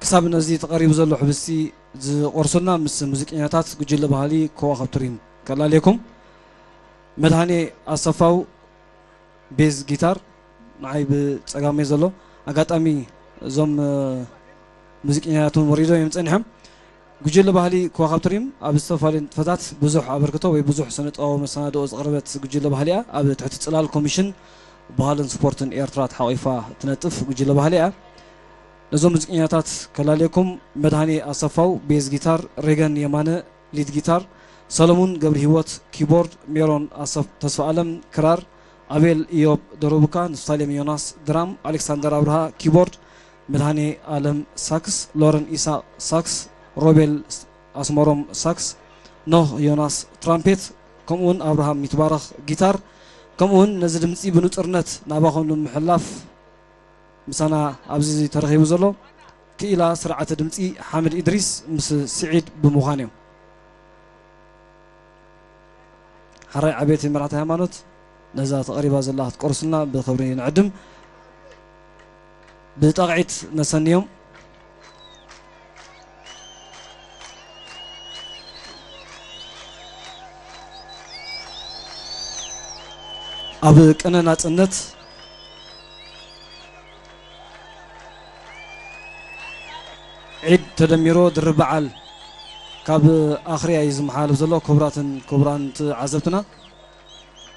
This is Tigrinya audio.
ክሳብ ነዚ ተቐሪቡ ዘሎ ሕብስቲ ዝቖርሱልና ምስ ሙዚቀኛታት ጉጅለ ባህሊ ከዋኽብቲ ሪም ከላልየኩም። መድሃኔ ኣሰፋው ቤዝ ጊታር፣ ንዓይ ብጸጋመይ ዘሎ። ኣጋጣሚ እዞም፣ እ፣ ሙዚቀኛታት እውን ወሪዶም እዮም ጸኒሖም። ጉጅለ ባህሊ ከዋኽብቲ ሪም ኣብ ዝተፈላለዩ ንጥፈታት ብዙሕ ኣበርክቶ ወይ ብዙሕ ስነ ጥበባዊ መሰናድኦ ዘቕረበት ጉጅለ ባህሊ እያ። ኣብ ትሕቲ ጽላል ኮሚሽን ባህልን ስፖርትን ኤርትራ ተሓቒፋ ትነጥፍ ጉጅለ ባህሊ እያ። ነዞም ሙዚቀኛታት ከላልየኩም፣ መድሃኔ ኣሰፋው ቤዝ ጊታር፣ ሬገን የማነ ሊድ ጊታር፣ ሰለሙን ገብረሂወት ኪቦርድ፣ ሜሮን ኣሰፍ-፣ ተስፋኣለም ክራር፣ ኣቤል ኢዮብ ደሮቡካ፣ ንፍታሌም ዮናስ ድራም፣ ኣሌክሳንደር ኣብርሃ ኪቦርድ፣ መድሃኔ ኣለም ሳክስ፣ ሎረን ኢሳቅ ሳክስ፣ ሮቤል ኣስመሮም ሳክስ፣ ኖህ ዮናስ ትራምፔት፣ ከምኡውን ኣብርሃም ይትባረኽ ጊታር፣ ከምኡውን ነዚ ድምጺ ብንጹርነት ናባኹም ንምሕላፍ ምሳና ኣብዚ ተረኺቡ ዘሎ ክኢላ ስርዓተ ድምጺ ሓምድ ኢድሪስ ምስ ስዒድ ብምዃን እዮም። ሓራይ ዓበይቲ መራሕቲ ሃይማኖት ነዛ ተቐሪባ ዘላ ክትቆርስልና ብኽብሪ ንዕድም። ብጣቕዒት ነሰንዮም። ኣብ ቅነ ናጽነት ዒድ ተደሚሮ ድርብ በዓል ካብ ኣኽርያ እዩ ዝመሓላለፍ ዘሎ። ክቡራትን ክቡራን ተዓዘብትና፣